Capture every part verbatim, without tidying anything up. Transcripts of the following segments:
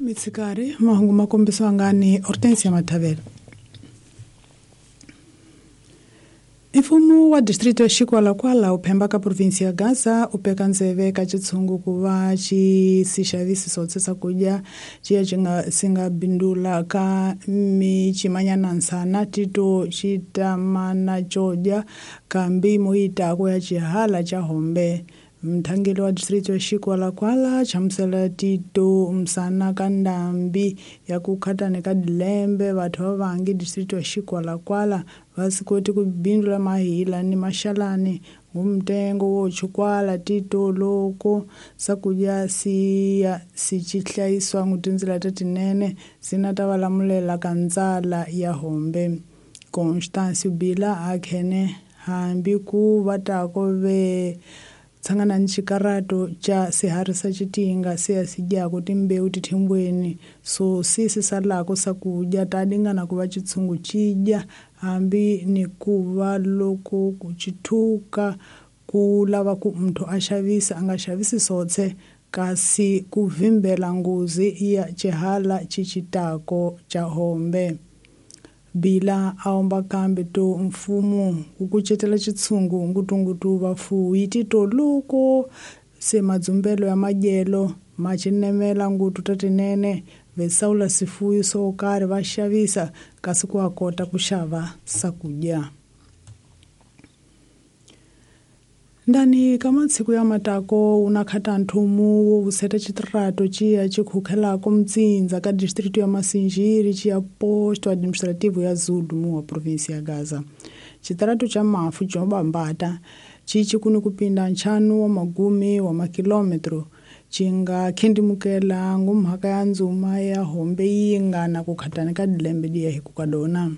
Mitsikari mahungu makombisiwa ngani Hortensia Mathavela. Mfumo wa distrito ya Chicualacuala uphemba ka provinsi ya Gaza upeka ndzeve ka chitshungu ku va xi si xavisi swotse swakudya xiya xi nga si nga bindula ka michimanyana nsana tito xi tamana xo dya kambi moyitako ya xihala xa hombe. Mthangeli wa distrito ya Chicualacuala chamusela tito msana ka ndambi ya ku khatane ka dilembe vathu va vangi distrito ya Chicualacuala va swi koti ku bindula mahila ni maxalani ngumtengo wo chukwala tito loko swakudya siya si ci hlayisiwa ngutindzila ta tinene sina ta va lamulela ka ndzala ya hombe. Constance Bila a khene hambi ku va tako ve tsangana ni xikarato xa swiharhi swa xitinga se ya si dyaka timbewu tithimbweni so si si salaka swakudya ta dingana ku va xitshungu xi dya hambi ni ku va loko ku xithuka ku lava ku muthu a xavisa a nga xavisi swotse kasi ku vimbela nghozi ya xihala xi xitako xa hombe. Bila a omba kambe to mfumo ku kucetela xitshungu ngutungutu vafuwi tito loko se madzumbelo ya madyelo ma cinemela ngutu ta tinene vesawula swifuwo swo karhi va xavisa kasi ku a kota ku xava swakudya. Ndani ka matsiku ya matako una khata nthumu wo vuseta xitirato xiya xi khukhelako mtsindza ka distrito ya Masinjiri xiya posto administrativo ya Zulu mu wa provinsi ya Gaza. Xitirato xa mafu xo bambata xi xi kuni ku pinda ntlhanu wa magumi wa makilometro xi nga khendimukela ngumhaka ya ndzuma ya hombe yi nga na ku khatana ka dilembe diya hi ku ka dona.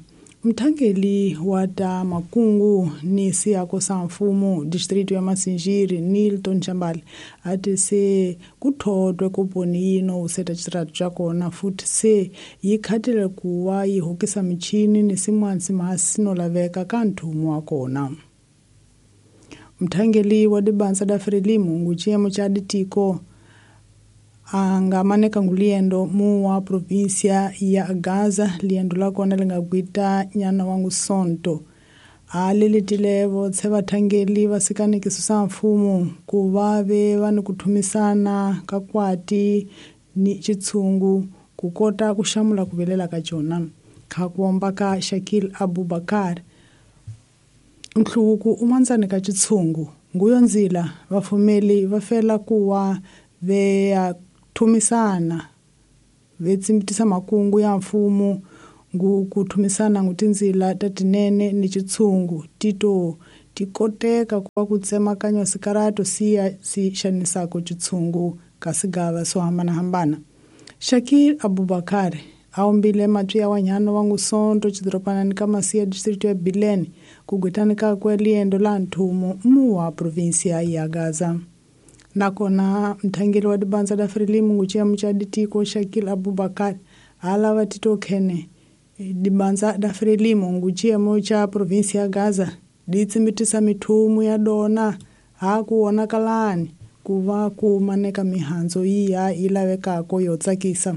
Mthangeli wa ta makungu ni siyako sa mfumo distrito ya Masinjiri Nilton Chambali ati se ku thodwe kuponi yino useta xitirato xa kona futhi se yi khatile ku va yi hokisa michini ni sin'wana simasi no laveka ka nthumo wa kona. Mthangeli wa dibanza da Frelimo ngu xiyimo xa ditiko a nga maneka ngu liendo mu wa provinsia ya Gaza liendo la kona li nga gwita nyana wa ngusonto a lelitile votse vathangeli va sikanekiso sa mfumo ku va ve va ni ku thumisana ka kwati ni xitshungu ku kota ku xamula ku vilela ka jona. Kha ku omba ka Shakil Abubakar nhluvuko u mandzani ka xitshungu nguyo ndzila vafumeli va fela ku wa ve ya thumisana ve tsimbitisa makungu ya mfumo ngu ku thumisana ngu tindzila ta tinene ni xitshungu tito ti koteka ku va ku tsemakanya sikarato siya si xanisako xitshungu ka sigava swo hambanahambana. Shakil Abubakar a ombile matwi ya wanyana wa ngusonto xidoropanani ka Masiya distrito ya Bilene ku gwitani kakwe liendo la nthumo mu wa provinsia ya Gaza. Nakona mthangeli wa dibanza da Frelimo ngu xiyimo xa ditiko Shakil Abubakar a lava tito khene dibanza da Frelimo ngu xiyimo xa provinsi ya Gaza di tsimbitisa mithumu ya dona ha ku vonakalani ku va ku maneka mihandzu yiya yi lavekako yo tsakisa.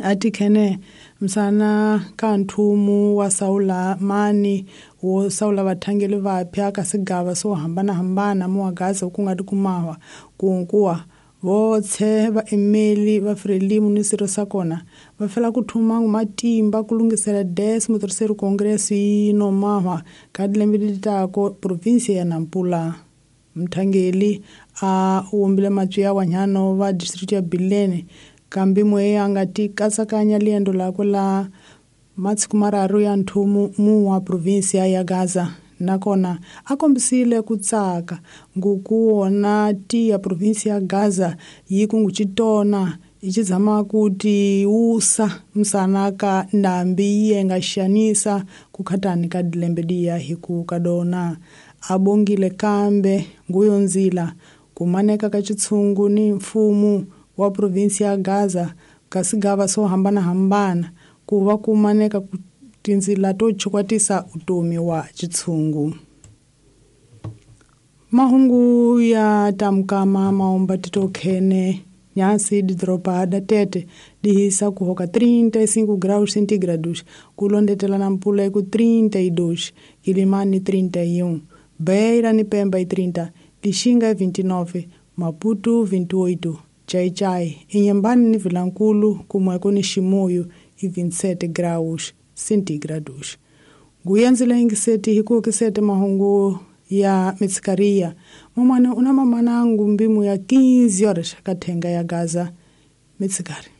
A ti khene msana ka nthumu wa sawula mani wo sawula vathangeli vaphya ka sigava swo hambanahambana mu wa Gaza ku nga tikumawa kunkuwa votse vaemeli va Frelimo ni swirho swa kona va fela ku thuma matimba ku lunghisela décimo terceiro congresso yi no mahwa ka dilembe leti tako provinsi ya Nampula. Mthangeli a wombile matwi ya wanyano va distrito ya Bilene kambi mwe a nga ti katsakanya liendo lakwe la matsiku mararu ya nthumu mu wa provinsi ya Gaza. Nakona a kombisile ku tsaka nguku wona ti ya provinsi ya Gaza yi ku ngu xitona yi xi zama ku ti wusa msana ka ndambi yi nga xanisa ku khatani ka dilembe diya hi ku ka dona. A bongile kambe nguyo ndzila ku maneka ka xitshungu ni mfumo wa provinsi ya Gaza ka sigava swo hambanahambana ku va ku maneka ku tindzila to chukwatisa utomi wa xitshungu. Mahungu ya tamkama maomba tito khene Nhasi didoropa da Tete dihisa kuhoka trinta e cinco graus centígrados, kulondetela Nampula ku trinta e dois, Quilimane trinta e um, Beira ni Pemba e trinta, Lixinga vinte e nove, Maputo vinte e oito, Chai-Chai, Inhambane ni Vilankulo, kumweko ni Chimoio e vinte e sete graus centígrados. Guyanzila ingiseti hikuokisete mahungu ya mitsikaria. Mamane una mamanangu mbimu ya quinze horas katenga ya Gaza mitsikari.